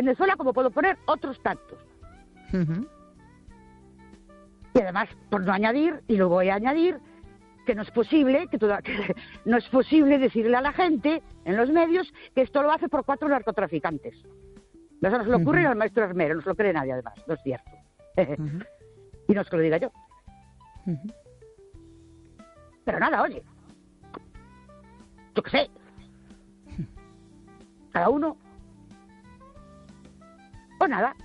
Venezuela como puedo poner otros tantos. Y además, por no añadir, y lo voy a añadir, que no es posible, que no es posible decirle a la gente en los medios que esto lo hace por 4 narcotraficantes. Eso no se le ocurre al maestro Armero, no se lo cree nadie además, no es cierto. Y no es que lo diga yo. Pero nada, oye, yo qué sé, cada uno, o nada.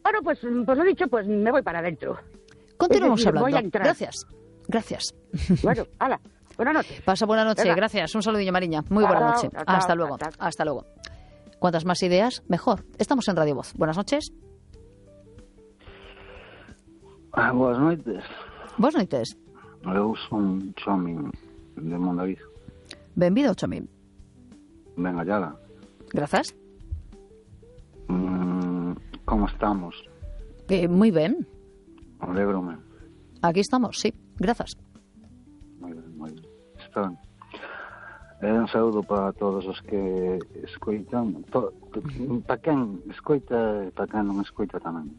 Bueno, pues lo dicho, pues me voy para adentro. Continuamos decir, hablando. voy a entrar. Gracias. Bueno, hala, buenas noches. Pasa buena noche, Venga. Gracias. Un saludillo, Mariña. Muy buena noche. Hasta luego. Hasta luego. Cuantas más ideas, mejor. Estamos en Radio Voz. Buenas noches. Boas noites. Boas noites. Eu son Chomin de Mondariz. Benvido, Chomin. Ben hallada. Grazas. Como estamos? Moi ben. Alégrome. Aquí estamos, sí. Grazas. Moi ben. Está ben. Un saúdo para todos os que escoitan. Para quen escoita e para quen non escoita tamén.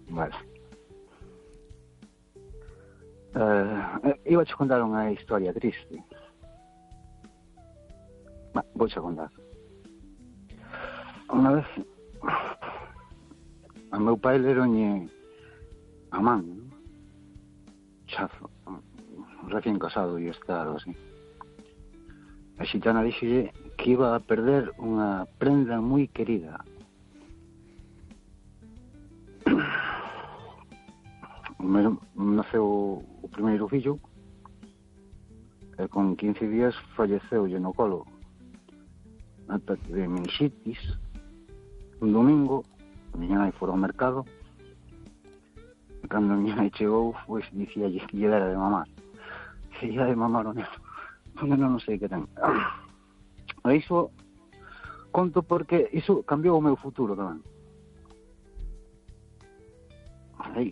Vale. Iba a contar unha historia triste. Vou a contar. Unha vez a meu pai leroñe a man, chazo, recién casado e estado así. A xitana dixelle que iba a perder unha prenda moi querida. Naceu o primeiro fillo e con 15 días falleceulle no colo ataque de meningitis. Un domingo a miña nai fora ao mercado e cando a miña nai chegou pois dicíalle que lle dera de mamar. Que lle de mamar o neno non sei que ten. E iso conto porque iso cambiou o meu futuro tamén. Aí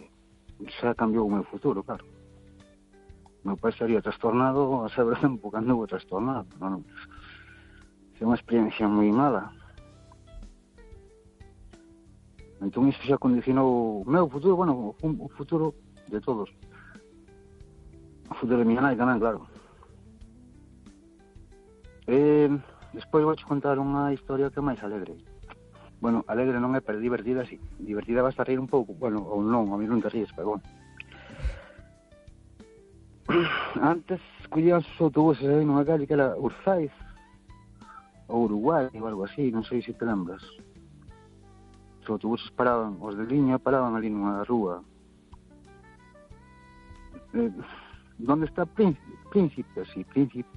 xa cambiou o meu futuro, claro. Meu pai estaría trastornado a saber tempo que andou trastornado. Non? É unha experiencia moi mala. Entón iso xa condicionou o meu futuro, bueno, o futuro de todos. O futuro de miña nai tamén, claro. Despois vou contar unha historia que é máis alegre. Bueno, alegre non é, pero divertida, sí. Divertida vas a reír un pouco, bueno, ou non, a mí non te ríes, pero bueno. Antes collían os autobuses aí nunha calle que era Urzaiz, ou Uruguai, ou algo así, non sei se te lembras. Os autobuses paraban, os de liña paraban ali nunha rúa. Donde está Príncipe, sí, Príncipe.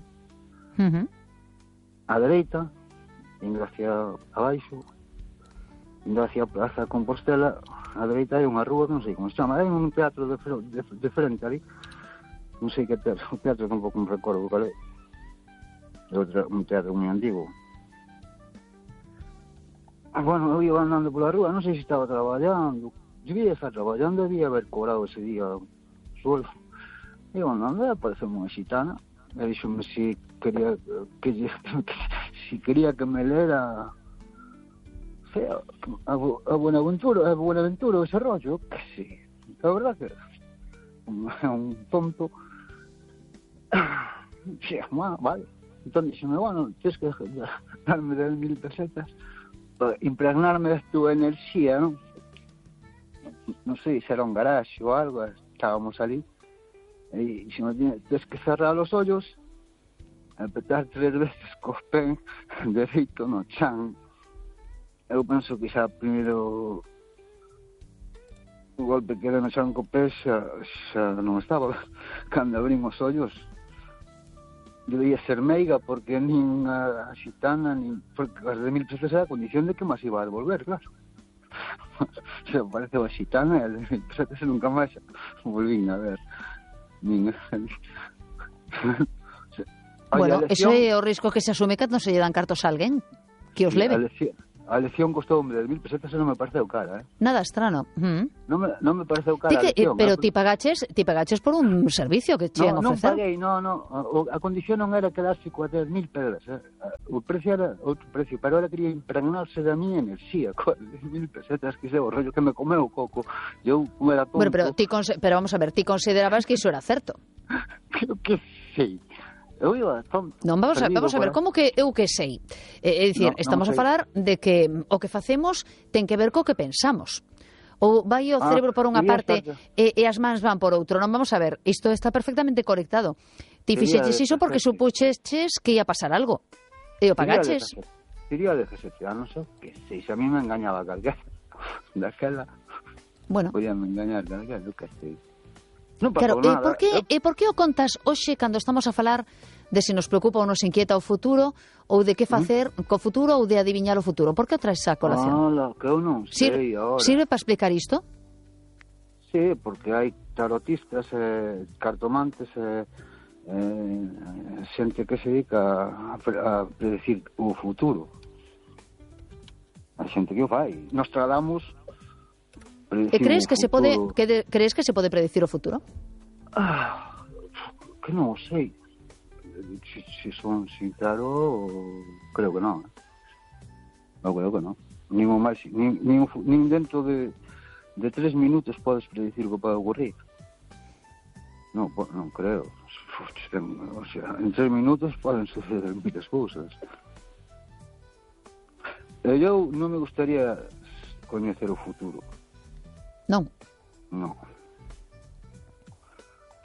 A dereita, indo hacia abaixo, indo hacia a Praza de Compostela, a dereita hai unha rúa que non sei como se chama, hai un teatro de frente ali, non sei que teatro, o teatro tampouco me recordo cal é. Un teatro moi antigo. Bueno, eu iba andando pola rúa, non sei se estaba traballando, debía estar traballando, debía haber cobrado ese día o sueldo. Iba andando e apareceu unha xitana, e dixome si quería que me lera a Buenaventura ese rollo, que sí, a verdad que é un tonto. Sí, vale. Entón dixeme, bueno, tens que darme 10.000 pesetas para impregnarme de tu enerxía, non? Non sei se era un garaxe ou algo, estábamos ali, e dixeme, tens que cerrar os ollos e petar 3 veces cos pés dereito no chan. Eu penso que xa primeiro o golpe que era no chan co pé xa non estaba. Cando abrín os ollos debía ser meiga porque nin a xitana nin, porque as de 1.000 pesos era a condición de que máis iba a devolver, claro. Se apareceu a xitana e as de 1.000 pesos nunca máis volvín a ver nin. Bueno, ese é o risco que se asume cando se lle dan cartos a alguén que os leve. A a lección costoume 10.000 pesetas e non me pareceu cara, Nada estrano. Non me pareceu cara a lección. Pero ti pagaches por un servicio que che ofrecer. Non paguei, a condición non era quedarse coa 10.000 pedras, o precio era outro precio, pero ahora quería impregnarse da miña enerxía, coa 10.000 pesetas, que sei, o rollo que me comeu o coco, eu como era tonto. Bueno, pero vamos a ver, ti considerabas que iso era certo? Creo que sei. Eu iba tonto. Non, vamos a ver, como que eu que sei? É dicir, estamos a falar de que o que facemos ten que ver co que pensamos. Ou vai o cerebro por unha parte e as mans van por outro. Non, vamos a ver, isto está perfectamente conectado. Ti fixeches iso porque supuxeches que ia pasar algo. E o pagaches. Diría de 17 anos, que sei, se a mí me engañaba calquera. Daquela, bueno, podían engañar calquera, eu que sei. Non claro, nada. Por que o contas hoxe cando estamos a falar de se nos preocupa ou nos inquieta o futuro ou de que facer co futuro ou de adiviñar o futuro? Por que o traes a colación? Que eu non sei ahora. Sirve para explicar isto? Sí, porque hai tarotistas, cartomantes, xente que se dedica a predecir o futuro. Hai xente que o fai. Nostradamus crees que se pode predecir o futuro? Que non sei. Se son sincero, creo que non. Non creo que non. Nin dentro de 3 minutos podes predecir o que pode ocurrir. Non creo. O sea, en 3 minutos poden suceder moitas cousas. Eu non me gustaría coñecer o futuro. Non. Non.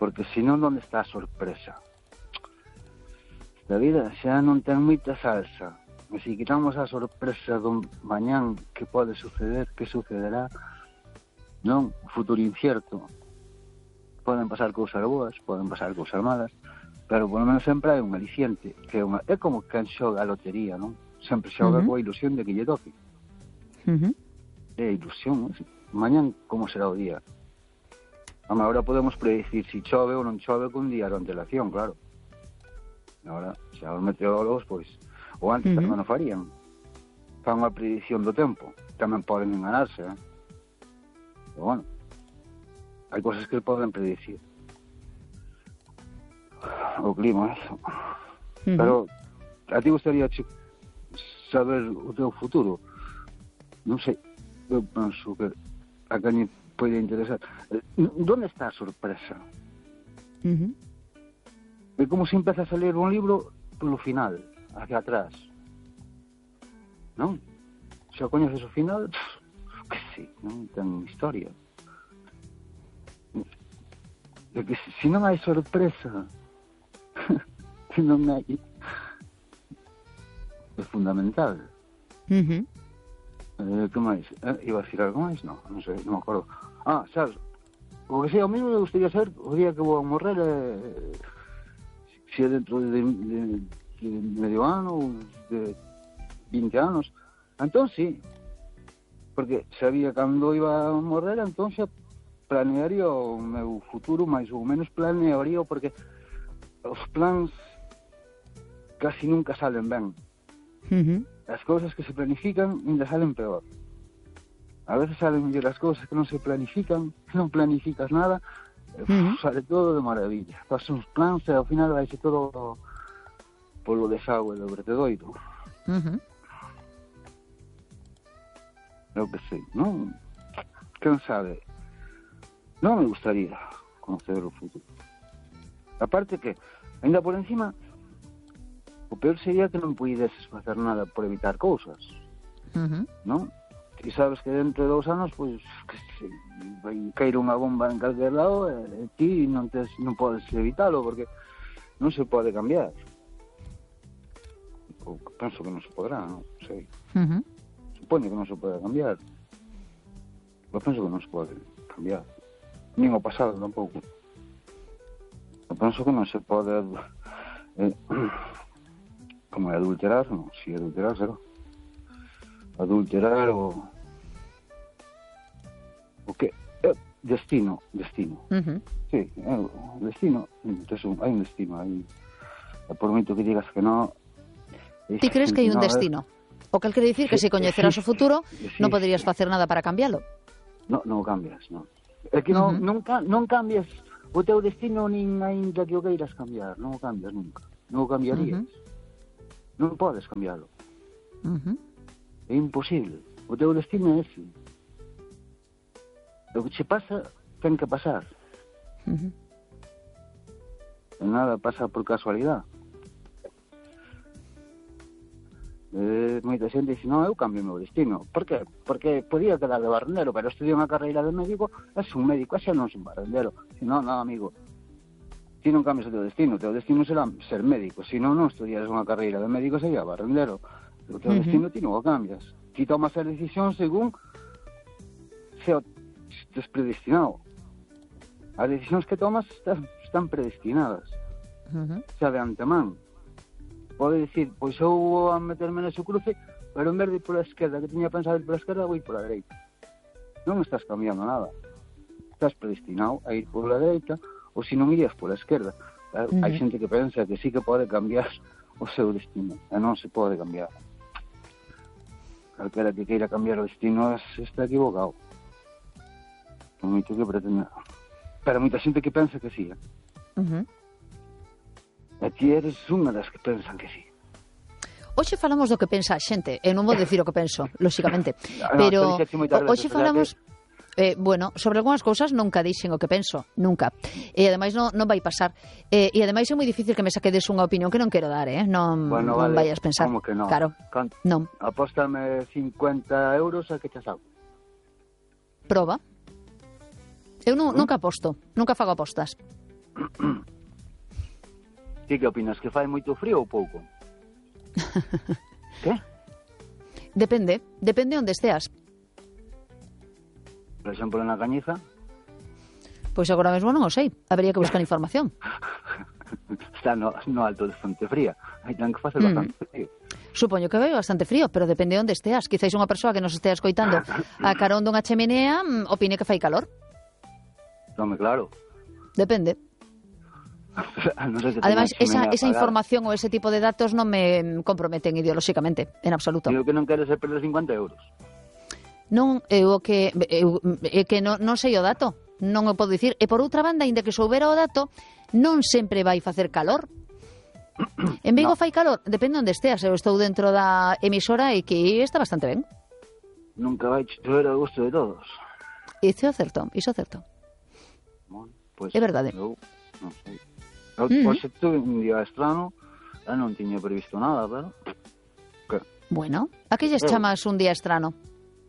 Porque senón onde está a sorpresa? A vida xa non ten moita salsa. E se quitamos a sorpresa do mañán que pode suceder, que sucederá, non? O futuro incierto. Poden pasar cousas boas, poden pasar cousas malas, pero por lo menos sempre hai un aliciente, que é como quen xoga a lotería, non? Sempre xoga coa ilusión de que lle toque. É ilusión, non? Mañán como será o día. Agora podemos predecir se chove ou non chove con día de antelación, claro. Agora, xa os meteorólogos, pois, ou antes tamén o farían. Fan unha predicción do tempo. Tamén poden enganarse, Pero bueno, hai cosas que poden predicir. O clima, eso. Pero a ti gustaría saber o teu futuro? Non sei. Eu penso que a quen pode interesar. ¿Dónde está a sorpresa? É como se empezas a ler un libro polo final, hacia atrás. Non? Se coñeces o final, que sei, non ten historia. É que se non hai sorpresa, se non hai... É fundamental. Que máis? Iba a decir algo máis? Non sei, non me acordo. Sabes, o que sei, ao mesmo me gustaría saber o día que vou a morrer, se é dentro de medio ano ou de 20 anos. Entón sí, porque sabía cando iba a morrer, entón xa planearía o meu futuro, máis ou menos planearía, porque os plans casi nunca salen ben. As cousas que se planifican ainda salen peor. A veces salen mellor as cousas que non se planifican, que non planificas nada, sale todo de maravilla. Fas uns plans e ao final vai ser todo polo desagüe do vertedoiro. Eu que sei, non? Quen sabe? Non me gustaría conocer o futuro. Aparte que, ainda por encima, o peor sería que non puideses facer nada por evitar cousas, non? E sabes que dentro de 2 anos, pois, que se vai caer unha bomba en calquer lado e ti non podes evitalo, porque non se pode cambiar. Ou penso que non se podrá, non sei. Supone que non se pode cambiar. Eu penso que non se pode cambiar. Nin o pasado tampouco. Eu penso que non se pode... como é adulterar, non? Si adulterar, será. Adulterar o que destino. Sí, o destino. Entón, hai un destino aí. Por moito que digas que non... Ti crees que hai un destino? O que quere dicir que se coñeceras o futuro non poderías facer nada para cambialo. Non o cambias, non. É que non cambias o teu destino nin aínda que o queiras cambiar. Non o cambias nunca. Non o cambiarías. Non podes cambiarlo. É imposible. O teu destino é ese. O que che pasa, ten que pasar. E nada pasa por casualidade. Moita xente dice, non, eu cambio o meu destino. Por qué? Porque podía quedar de barrendero, pero estudiei unha carreira de médico, és un médico, xa non son barrendero. Si non, amigo, ti non cambias o teu destino será ser médico. Si non estudiares unha carreira de médico, sería barrendero. O teu destino ti non o cambias. Ti tomas a decisión según se estés predestinado. As decisións que tomas están predestinadas. Xa de antemán. Pode dicir, pois eu vou a meterme nese cruce, pero en vez de ir pola esquerda, que tiña pensado ir pola esquerda, vou ir pola dereita. Non estás cambiando nada. Estás predestinado a ir pola dereita, ou se non irías pola esquerda. Hai xente que pensa que sí que pode cambiar o seu destino, e non se pode cambiar. Calquera que queira cambiar o destino está equivocado. Por moito que pretenda. Pero moita xente que pensa que sí, E ti eres unha das que pensan que sí. Hoxe falamos do que pensa a xente. Eu non vou dicir o que penso, lóxicamente. Pero hoxe falamos... bueno, sobre algunhas cousas nunca dixen o que penso, nunca. E ademais non vai pasar. E ademais é moi difícil que me saquedes unha opinión que non quero dar, Non vayas pensar. Como que non? Claro, non. Apóstame 50 euros a que te saco. Proba. Eu nunca aposto, nunca fago apostas. Ti que opinas, que fai moito frío ou pouco? Que? Depende onde esteas. Por exemplo, na Cañiza? Pois agora mesmo non o sei, habería que buscar información. Está no alto de Fonte Fría, aí ten que facer bastante frío. Supoño que vai bastante frío, pero depende onde esteas. Quizáis unha persoa que nos estea escoitando a carón dunha cheminea opine que fai calor. Home, claro. Depende. No sé, ademais, esa información ou ese tipo de datos non me comprometen ideolóxicamente, en absoluto. Digo que non queres perder 50 euros. Non, eu que non sei o dato, non o podo dicir. E por outra banda, ainda que soubera o dato, non sempre vai facer calor. En Vigo fai calor, depende onde esteas. Eu estou dentro da emisora e que está bastante ben. Nunca vai chover a gusto de todos. Iso é certo. Bueno, pues, é verdade. Eu non sei. Hoxe tuve un día estrano, non tiña previsto nada, pero... Bueno, a que lles chamas un día estrano?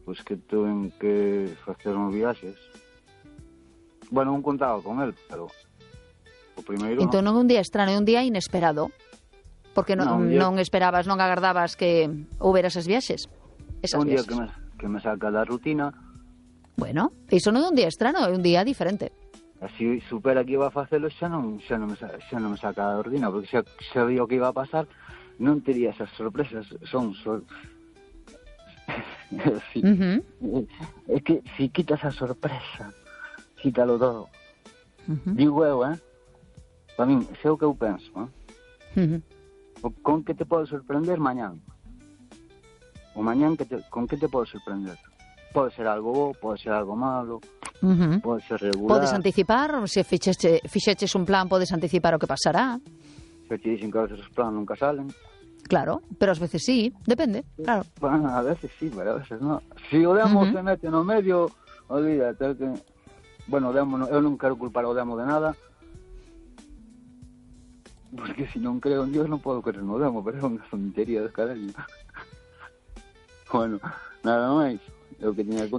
Pois que tuve que facer uns viaxes. Bueno, non contaba con el, pero o primeiro entón non é un día estrano, é un día inesperado. Porque non esperabas, non agardabas que houbera esas viaxes. Un día que me saca da rutina. Bueno, iso non é un día estrano, é un día diferente. Así supera que iba a facelo, xa non me saca da rutina, porque xa sabía o que iba a pasar, non tería esas sorpresas. Sí. É que si quitas a sorpresa, quítalo todo. Digo eu, para min, sei o que eu penso, con que te pode sorprender mañán. O mañán con que te pode sorprender. Pode ser algo bo, pode ser algo malo, pode ser regular. Podes anticipar, se fixeches un plan, podes anticipar o que pasará. Se te dicen que a veces os planos nunca salen. Claro, pero ás veces sí, depende, claro. Bueno, a veces sí, pero a veces no. Si o demo se mete no medio, olvídate que... Bueno, eu non quero culpar o demo de nada, porque se non creo en Dios non podo creer no demo, pero é unha tontería de caralho. Bueno, nada máis.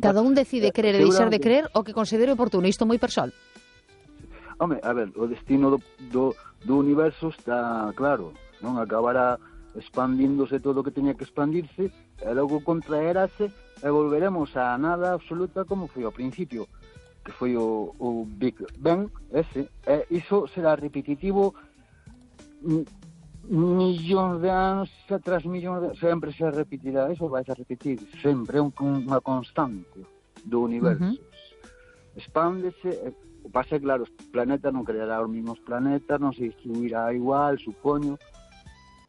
Cada un decide querer e deixar de creer o que considere oportuno, isto moi persoal. Home, a ver, o destino do universo está claro, non acabará expandíndose todo o que teña que expandirse e logo contraerase e volveremos a nada absoluta como foi ao principio, que foi o Big Bang ese, e iso será repetitivo millóns de anos tras millóns de anos, sempre se repetirá, eso vai a repetir sempre, é unha constante do universo. Expándese, pasa claro, os planetas non creará os mesmos planetas, non se distribuirá igual, supoño,